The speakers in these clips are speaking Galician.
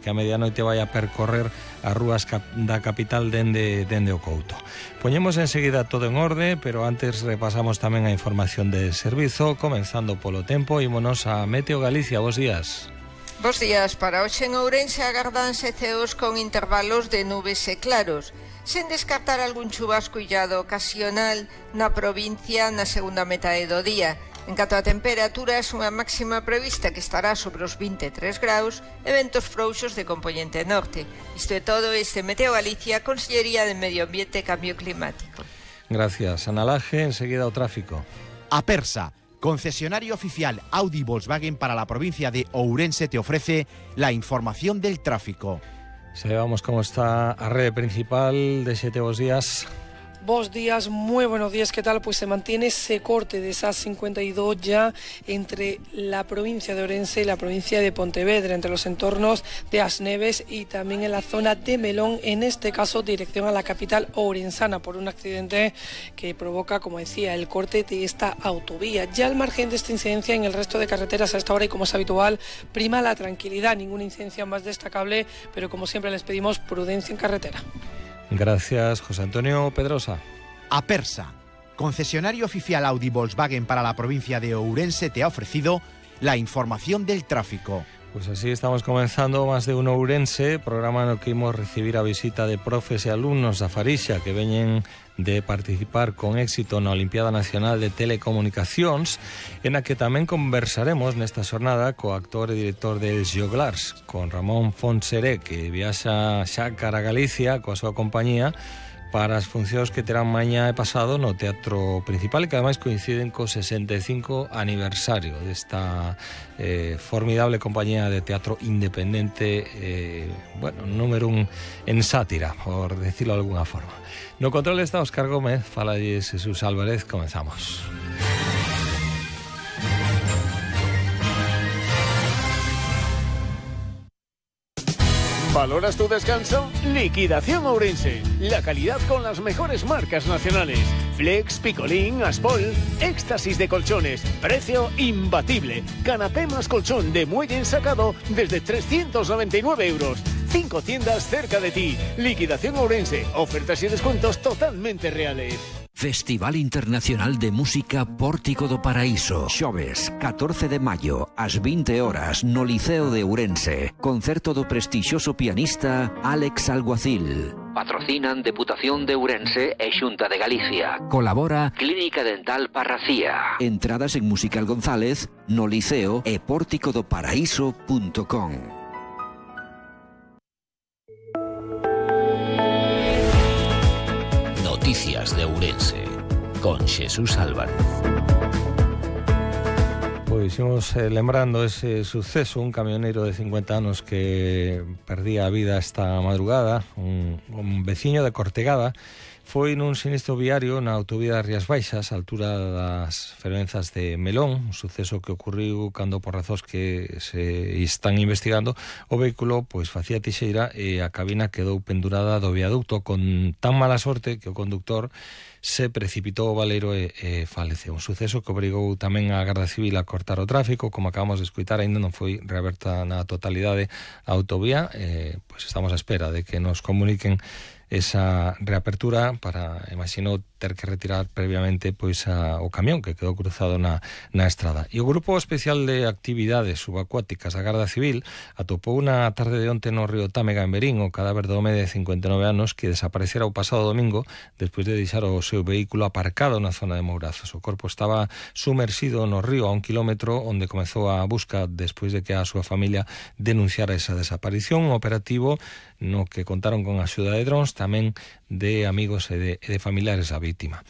que a medianoite vai a percorrer as rúas da capital dende o Couto. Poñemos enseguida todo en orde, pero antes repasamos tamén a información de servizo, comenzando polo tempo. Ímonos a Meteo Galicia. Bos días. Bos días. Para hoxe en Ourense agardanse ceos con intervalos de nubes e claros, sen descartar algún chubasco illado ocasional na provincia na segunda metade do día. En canto a temperaturas, unha máxima prevista que estará sobre os 23 graus e ventos frouxos de compoñente norte. Isto é todo este Meteo Galicia, Consellería de Medio Ambiente e Cambio Climático. Gracias, Ana Laje. Enseguida o tráfico. Apersa, concesionario oficial Audi Volkswagen para la provincia de Ourense, te ofrece la información del tráfico. Sabemos cómo está a rede principal de 7 bos días. Bos días, muy buenos días, ¿qué tal? Pues se mantiene ese corte de esa 52 ya entre la provincia de Ourense y la provincia de Pontevedra, entre los entornos de As Neves y también en la zona de Melón, en este caso dirección a la capital ourensana, por un accidente que provoca, como decía, el corte de esta autovía. Ya al margen de esta incidencia en el resto de carreteras a esta hora, y como es habitual, prima la tranquilidad, ninguna incidencia más destacable, pero como siempre les pedimos prudencia en carretera. Gracias, José Antonio Pedrosa. Apersa, concesionario oficial Audi Volkswagen para la provincia de Ourense, te ha ofrecido la información del tráfico. Pues así estamos comenzando Más de Uno Ourense, programa no que imos recibir a visita de profes e alumnos da Farixa que veñen de participar con éxito na Olimpiada Nacional de Telecomunicacións, en a que tamén conversaremos nesta xornada co actor e director del Joglars, con Ramón Fonseré, que viaxa xa cara a Galicia coa súa compañía para as funcións que terán mañá e pasado no Teatro Principal, e que ademais coinciden co 65 aniversario desta formidable compañía de teatro independente, número un en sátira, por decirlo de alguna forma. No control está Óscar Gómez, falalles Jesús Álvarez. Comenzamos. ¿Valoras tu descanso? Liquidación Ourense. La calidad con las mejores marcas nacionales. Flex, Picolín, Aspol, éxtasis de colchones. Precio imbatible. Canapé más colchón de muelle ensacado desde 399 euros. 5 tiendas cerca de ti. Liquidación Ourense. Ofertas y descuentos totalmente reales. Festival Internacional de Música Pórtico do Paraíso. Xoves, 14 de maio, ás 20 horas, no Liceo de Ourense. Concerto do prestixioso pianista Álex Alguacil. Patrocinan Deputación de Ourense e Xunta de Galicia. Colabora Clínica Dental Parracía. Entradas en Musical González, no Liceo e pórticodoparaíso.com. Noticias de Ourense, con Jesús Álvarez. Pois imos lembrando ese suceso, un camionero de 50 anos que perdía a vida esta madrugada, un veciño de Cortegada, foi nun sinistro viario na autovía das Rías Baixas, a altura das fervenzas de Melón, un suceso que ocorriu cando, por razóns que se están investigando, o vehículo pois facía tixeira e a cabina quedou pendurada do viaducto con tan mala sorte que o conductor se precipitou ao baleiro e faleceu. Un suceso que obrigou tamén a Garda Civil a cortar o tráfico, como acabamos de escoitar, aínda non foi reaberta na totalidade a autovía, pois estamos á espera de que nos comuniquen esa reapertura para, imagino, ter que retirar previamente pois o camión que quedou cruzado na estrada. E o Grupo Especial de Actividades Subacuáticas da Garda Civil atopou na tarde de onte no río Támega, en Verín, o cadáver do home de 59 anos que desaparecera o pasado domingo despois de deixar o seu vehículo aparcado na zona de Mourazos. O corpo estaba sumerxido no río a 1 kilómetro, onde comezou a busca despois de que a súa familia denunciara esa desaparición. Un operativo no que contaron con a axuda de drons, tamén de amigos e de familiares da vítima.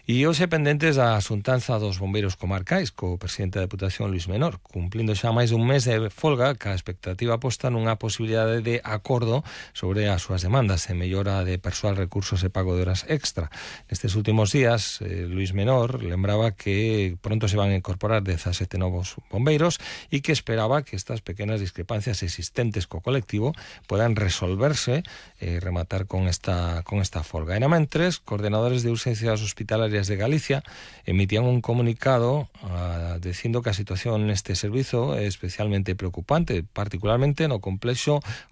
E hoxe pendentes da xuntanza dos bombeiros comarcais co presidente da Deputación, Luís Menor, cumplindo xa máis dun mes de folga, ca expectativa posta nunha posibilidade de acordo sobre as súas demandas de mellora de persoal, recursos e pago de horas extra. Nestes últimos días, Luís Menor lembraba que pronto se van a incorporar 17 novos bombeiros e que esperaba que estas pequenas discrepancias existentes co colectivo puedan resolverse e rematar con esta folga. E na mentres, coordenadores de urgencias hospitalarias de Galicia emitían un comunicado dicindo que a situación neste servizo é especialmente preocupante, particularmente no complexo